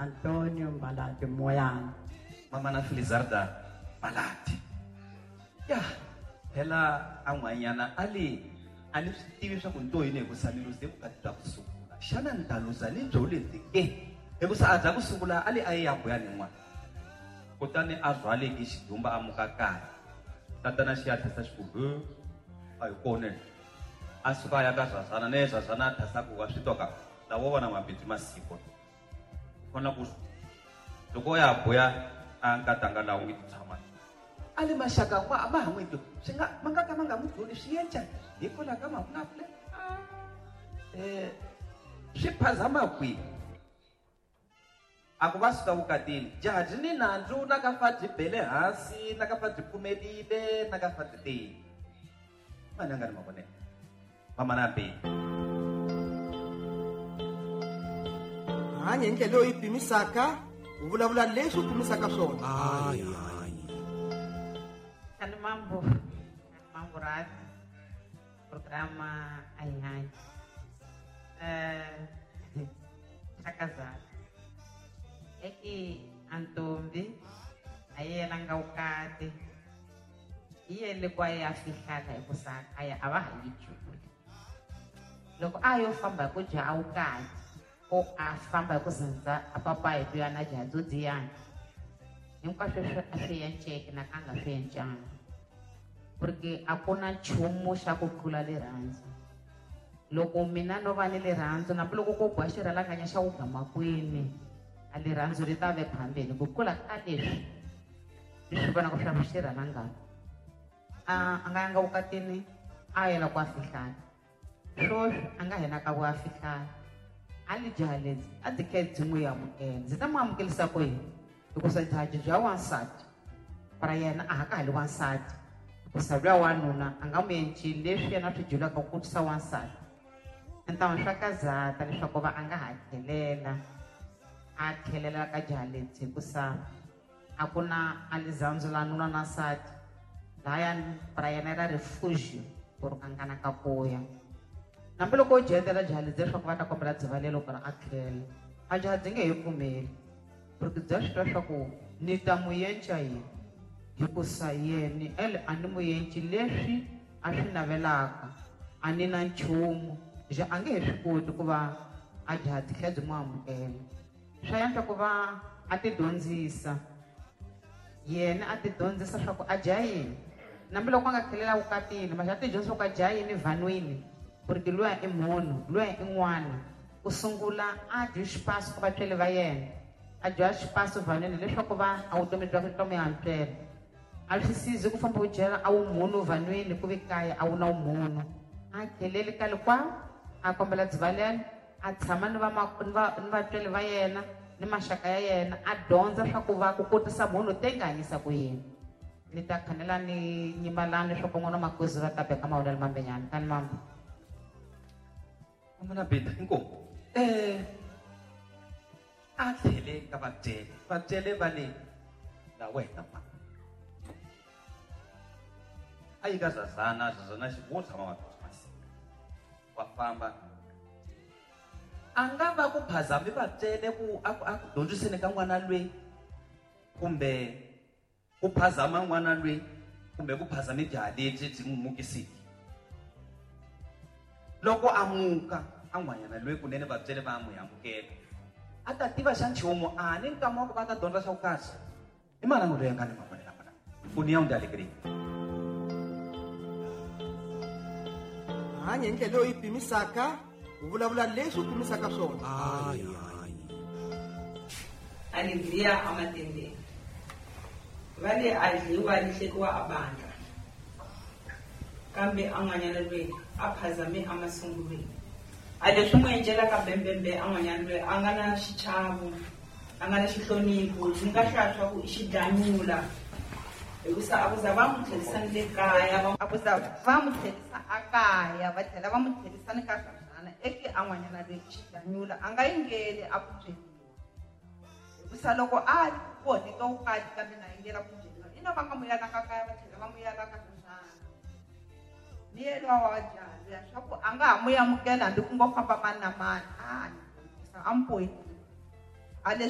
Antonio Mbalati Moyana. Mamana Felizarda Mbalati. Ya, phela a n'wanyana a le a ni swi tivi swa ku ni to yini hikusa ni luze vukati bya ku sungula. Xana ni ta luza ni byo lebyi ke? Hikusa a bya ku sungula a le a yi ya buya ni n'wana. Kutani a rhwaleke xidumba a muka kaya. Tatana xi ya tlhasa xi ku he a hi kona. A suka a ya ka Zazana na ye Zazana a thasa ku wa swi twa ka lawo vona mabindzu masiku. Kona ku loko ya buya a nkatanga laha u nge ti tshama. A le maxaka ma ma ha n'wi twi swi nga ma nga ka ma nga n'wi byoli swi yenca hikwalaho ka mavulavulelo. Swi phazama kwihi? A ku va suka vukatini jaha byi ni nandzu na ka fa byi bele hansi na ka fa byi pfumelile na ka fa byi teni. Mani a nga ni mavonelo? Mamana Beni. Hanya hi ndlela leyi u yi pimisaka, u vulavula leswi u pimisaka swona. Kani mambo, kani mambo rati, programa a hi hanyi. Chakazana. Eki antombi a yi yelanga vukati. Yi yele kwa ya fihlala hikusa kaya a va ha yi juli. Loko a yo famba hi ku dya vukati, o a famba hi ku zindza a papa hi tuya na jaha byo dziyana. Hinkwaswo sweswo a swi enceke na ka nga swi encanga. Porque a ku na nchumu xa ku tlula rirhandzu. Loko mina no va ni rirhandzu, hambiloko ko boha xirhalanganya xa ku gama kwini, a rirhandzu ri ta ve phambeni. Ku tlula ka leswi, leswi vonaka swa xirhalanganya. A nga yanga vukatini, a yela ku a fihlala. Swoswi a nga hena ka ku a fihlala. A li jaha lebyi, a byi khe byi n'wi amukela. Ndzi ta n'wi amukelisa ku yini? Hikusa jaha bya wansati, para yena a ha ka ha li wansati. Hikusa luya wanuna a nga n'wi encili leswi yena swi dyulaka ku kotisa wansati. Ntamu swa kazata leswaku va a nga ha tlhelela, a tlhelela ka jaha lebyi hikusa a ku na a lizandzu la nuna na nsati. Lahaya para yena ra refugio ku ri a nga na ka ku ya. Hambiloko u dyetela jaha lebyi leswaku va ta kombela dzivalelo ku ri a tlhela, a jaha byi nge he pfumeli. Porque bya swi twa swa ku ni ta n'wi yenca yini? Hikusa yeni ele a ni n'wi yenci leswi a swi navelaka, a ni na nchumu. Ja a nge he swi koti ku va a jaha byi tlhela byi n'wi amukela. Swa yantswa ku va a ti dyondzisa. Yena a ti dyondzisa swa ku a dya yini. Hambiloko a nga tlhelela vukatini, maxa a ti dyondzisa ku a dya yini vanhwini, porque luya i munhu, luya i n'wana. Ku sungula a dyi xipaso ka vatswari va yena. A dya xipaso vanhwini leswaku va a vutomi bya ku mi antswela. A swi sizi ku famba u dyela a wu munhu vanhwini ku vi kaya a wu na munhu. A tlheleli ka likwa, a kombela dzivalelo, a tshama ni va ni vatswari va yena ni maxaka ya yena, a dyondza swa ku va ku kotisa munhu te nga hanyisa ku yini. Ni ta khanela ni nyimalani leswaku n'wana wa makuzi va ta beka mavonelo mambenyana. Kani mambo. Mamana Beta, inkomu. A tlhele ka vatswele. Vatswele va le la wena ma. A yi ka Zazana, Zazana xi wo tshama wa masiku. Wa famba. A nga va ku phazami vatswele ku a ku a ku dyondziseni ka n'wana lweyi kumbe ku phazama n'wana lweyi kumbe ku phazama jaha lebyi byi n'wi mukisiki. Loko a muka a n'wanyana lweyi kunene vatswele va n'wi amukela. A ta tiva xa nchumu a ni nkama wa ku va ta dyondza swa ku kahle. I mani a n'wi loyi a nga ni mavonelo kona? União de Alegria. Hanya hi ndlela leyi u yi pimisaka, u vulavula leswi u pimisaka swona. Alegria a matendeni. Va le a dliwa li hlekiwa a bandla. Kambe a n'wanyana lweyi a phazame a masungulweni. A leswi n'wi encelaka bembembe a n'wanyana lweyi a nga na xichavo, a nga na xihlonipho, ni nga hlaya swa ku i xidlanyula. Hikusa a ku za va n'wi tlherisa ni le kaya, va A ku za va n'wi tlherisa a kaya, va tlhela va n'wi tlherisa ni ka Zazana. Eke a n'wanyana lweyi i xidlanyula, a nga yingeli a ku byeriwa. Hikusa loko a voneke vukati kambe na yingela ku byeriwa, ina va nga n'wi yalanga kaya, va tlhela va n'wi yala ka Zazana. Ni yena wa jaha luya swa ku a nga ha n'wi amukela hambi ku ngo famba mani na mani. A ni dyondzisa, a n'wi bohile. A leswi